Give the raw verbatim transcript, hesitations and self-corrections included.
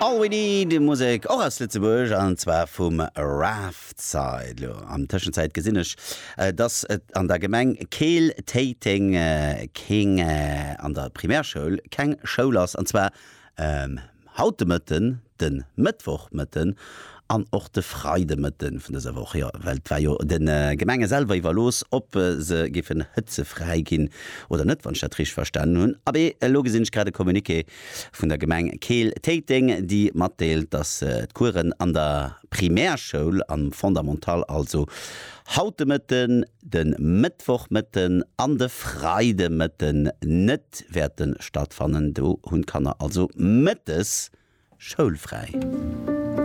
All We Need, Musek och aus Lëtzebuerg, an zwar vum Raftside. Lo an Tëschenzäit gesinn ech, dass et an der Gemeng Keel-Téiteng keng an der Primärschoul keng Schoul ass, an zwar haut de Mëtten, de Mëttwochmëtten an och de Freidemëtten vun dëser Woch. Jo, well et war jo de Gemenge selwer iwwerlooss, ob se géifen hëtzefräi ginn oder net, wann ech dat richteg verstanen hunn. Abee, elo gesinn ech grad e Communiqué vun der Gemeng Keel-Téiteng, déi matdeelt, dass d'Coursen an der Primärschoul, am Fondamental also, haut de Mëtten, de Mëttwochmëtten an de Freidemëtten net wäerte stattfannen. Do hunn d'Kanner also mëttes schoulfräi.